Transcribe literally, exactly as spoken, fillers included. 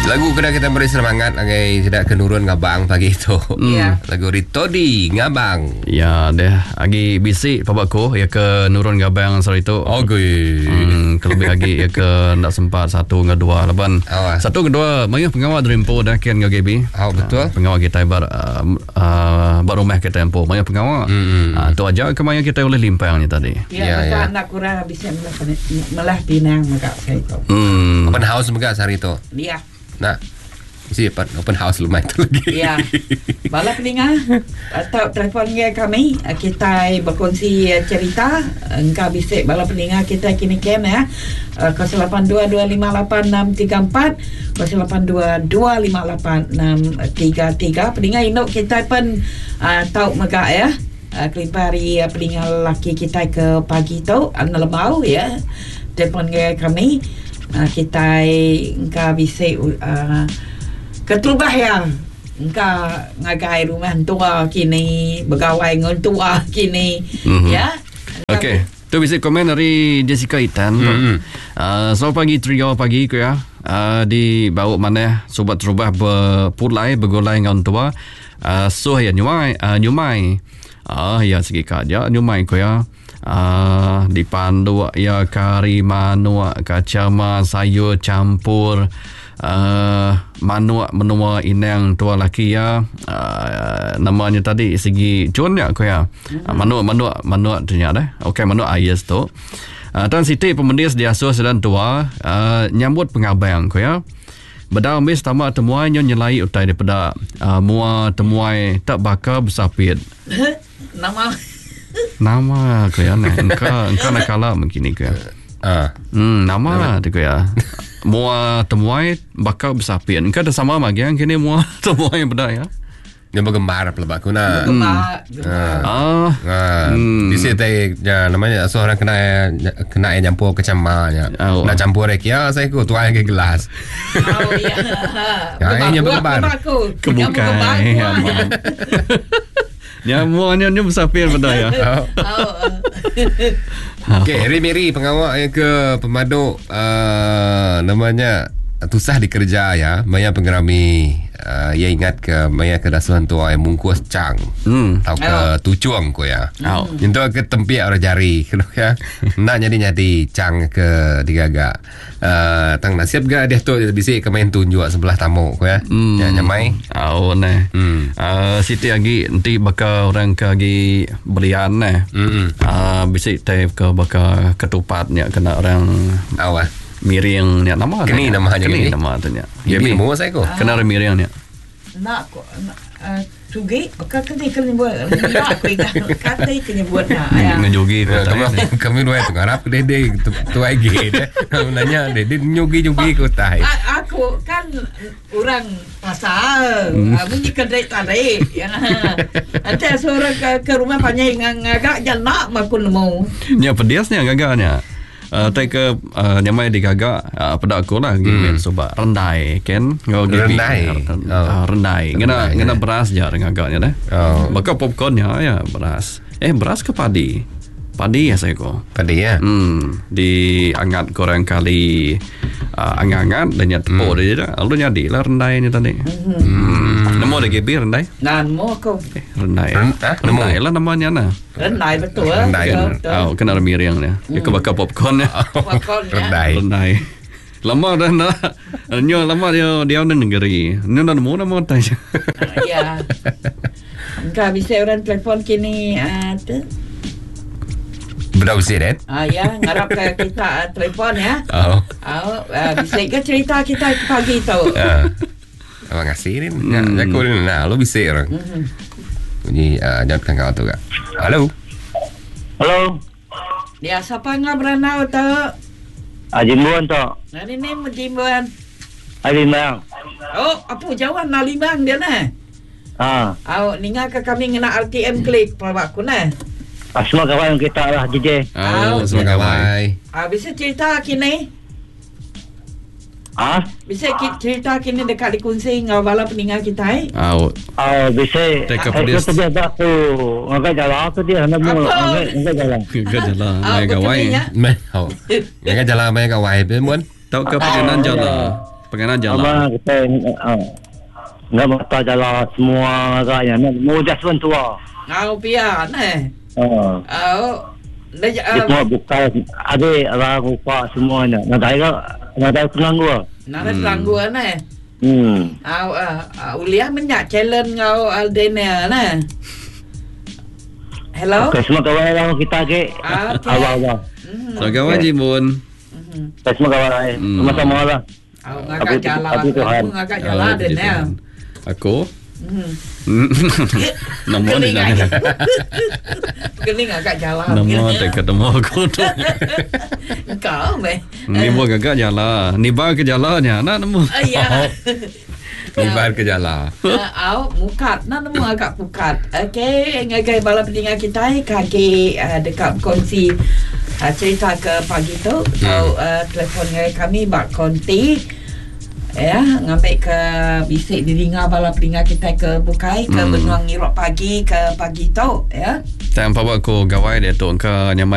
Lagu kena kita beri semangat lagi tidak kenurun ngabang pagi itu. Ya. Lagu Ritodi Ngabang. Ya deh, agi bisi pabaku ya ke nurun ngabang sehari tu. Okey. Hmm, kelebih lagi ya ke nak sempat satu dengan dua laban. Oh, ah. Satu ke dua mayuh pengawal derimpo dah kian ngau G B. Oh, betul. Uh, pengawal kita bar uh, uh, bar rumah kita empu mayuh pengawal. Hmm. Uh, tu aja ke maya kita boleh limpang ni tadi. Ya, Ya, maka ya. anak kurang habis melah melah pinang maka saya itu. Hmm. Open house juga sehari tu. Ya. Nah, mesti open, open house lumayan tu lagi. Ya. Bala peninga atau telefon dengan kami kita berkongsi cerita engkau bisik bala peninga kita kini kem ya. kosong lapan dua dua lima lapan enam tiga empat kosong lapan dua dua lima lapan enam tiga tiga. Peninga induk kita pun uh, tahu megak ya. Uh, kelipari uh, peninga lelaki kita ke pagi tu anu lemau ya. Telefon dengan kami uh, kita engkau bisik uh, keterubah ya. Engkau ngagai rumah tua kini, begawai dengan tua kini. Mm-hmm. Ya. Okey. Tu bisik komen dari Jessica Itan. Mm-hmm. Uh, selamat pagi trio pagi ku ya. Uh, di bau mana sobat terubah berpulai bergulai dengan tua. Uh, suh ya nyumai, uh, nyumai. Ah uh, ya segi ka ja nyumai ku ya. Uh, dipandu ya kari manuk kacama sayur campur uh, manuk menua inang tua laki ya uh, namanya tadi segi cun ya ko ya uh, manuk manuk manuk tu nya dah okey manuk ayes tu uh, Tan Siti pemendis diasuh sedang tua uh, nyambut pengabang ko ya bedau mis tamak temuai nyo nyelai utai daripada uh, mua temuai tak bakal bersapit nama nama ko ya nah engkau engkau nak kalah mungkin ni ko ya. Ah. Hmm, nama tu ko ya. Mua temuai bakal bersapit. Engkau dah sama magiang kini mua temuai benda ya. Yang bergembar pelabak aku nak. Gembar. Ah. Ah. Hmm. Di sini tadi ya, namanya seorang kena kena nyampur kecamanya. Oh. Nak campur rek ya saya ku tuang ke gelas. Oh ya. Ya, ini yang bergembar. Kebukai. Ya, Ya, muanya ni bersapir benda ya. Oh. Oh. Okey, Harry Mary pengawal yang ke pemaduk uh, namanya tusah dikerja ya, maya pengerami uh, ya ingat ke maya ke dasuhan tua yang mungkus cang. Hmm. Atau ke Oh. tucuang ko ya. Oh. Nyentuh ke tempiak orang jari kena ya. Nak jadi-jadi cang ke digagak. Uh, tang nasib ga dia tu bisik ke main tunjuk sebelah tamu ko ya. Hmm. Ya nyamai. Oh nah. Hmm. Uh, Siti lagi nanti bakal orang ke lagi belian nah. Hmm. Uh, bisik type ke bakal ketupatnya kena orang Awal. miring ni nama Keni tu, nama nya keni ni. nama tu nya. Ini mu saya ko. Kena orang miring ni. Nak ko sugi ka kena kena buat nak aku ingat kata kena buat nak ya. Ngejogi Ya, kami kami dua tu ngarap deh deh tu tu lagi deh. Nanya deh deh nyugi nyugi ko tai. A- aku kan orang pasar hmm. Bunyi kedai tarik ya. Nanti seorang ke, ke rumah panjang ngagak janak maku nemu. Nya pediasnya gagaknya. Uh, tai ke uh, nyamai digagak uh, pada aku lah hmm. Sobat rendai kan ngau gibi Rendai. uh, Oh. rendai ngena Rendai, ngena eh. beras je gagaknya deh. Oh. Bakal popcornnya ya beras. Eh beras ke padi? Padi ya saya ko. Padi ya. Hmm, diangat korang kali uh, angat-angat dan nyat tepuk hmm. dia dah. Lalu jadi lah rendai ni tadi. Hmm. Nemu ada G B rendai? Nah, nemu aku. Eh, rendai. Ren- ah, nemu. Rendai lah namanya nah. Rendai betul. Rendai. Betul, betul. Oh, kena ada miring dia. Dia ke bakar popcorn dia. Popcorn ya. Rendai. Rendai. Lama dah nak. Nyo lama dia dia ada negeri. Nyo dah nemu nama tanya. Ya. Engkau bisa orang telefon kini uh, tu. Benar bersih deh. Ah ya, ngarap ke kita uh, telefon ya. Oh. Oh, uh, bisa ke cerita kita ke pagi tu. Ah. Abang ngasih ni. Ya, aku ni nah, lu bisik orang. Bunyi uh, jangan kau tu kak. Halo. Halo, Ya, siapa ngah beranau tu? ah, Jimbuan tu. Nah, ni ni Jimbuan. Ai Limang. Oh, apa jauhan nak limang dia nah. Ah, Oh, ninga ke kami ngena R T M klik pelawak aku nah. ah, semua kawan kita lah J J. Oh, Semua semua kawan. kawan. Ah, bisa cerita kini. Ah, Bisa ki- cerita kini dekat dikunci ngau bala peninggal kita eh. Oh, ah, bisa. Take up Eh, this. tu dia aku. Angkat jalan aku dia hendak mu. Apa? Angkat angkat jalan. ke jalan Ah, mai betul gawai. ni, ya. Meh. Oh. Jangan jalan main kawai pun. Tau ke pengenan jalan. Penganan jala. Sama kita ah, nggak mata jala semua agaknya. Nak mudah pun tua. Ngau pia ne. Ah. Au. Dia Dia uh, semua buka ada orang rupa semuanya. Nak ada nak ada pengganggu. nak hmm. langgu ne. Hmm. Au uh, uh, uliah menyak challenge ngau uh, Daniel ne. Hello. Okey, semua kawan lah kita ke. Ah, okey. Awal-awal. Hmm. So gawai jimun. Hmm. Kita semua kawan lah. Hmm. Sama-sama lah. Au ngagak Aku- jala. aku Tuhan. Aku ngagak jala Oh, puji Daniel. Tuhan. Aku Hmm. Nombor ni Kening dah. agak. Kening agak jala. Nombor tak ketemu aku tu. Kau meh. Ni buat gagak jala. Ni bar ke jalanya. Nak nemu. Ah, ya. Nibar ke jala. Uh, au mukat nak nemu agak pukat. Okey, ngagai bala pendengar kita kaki uh, dekat kongsi uh, cerita ke pagi tu hmm. Tau uh, telefon ngagai kami bak konti ya ngambil ke bisik didengar bala pendengar kita ke bukai ke Hmm. hmm. benuang ngirok pagi ke pagi tu ya Tanpa aku gawai dia tu ke nyamai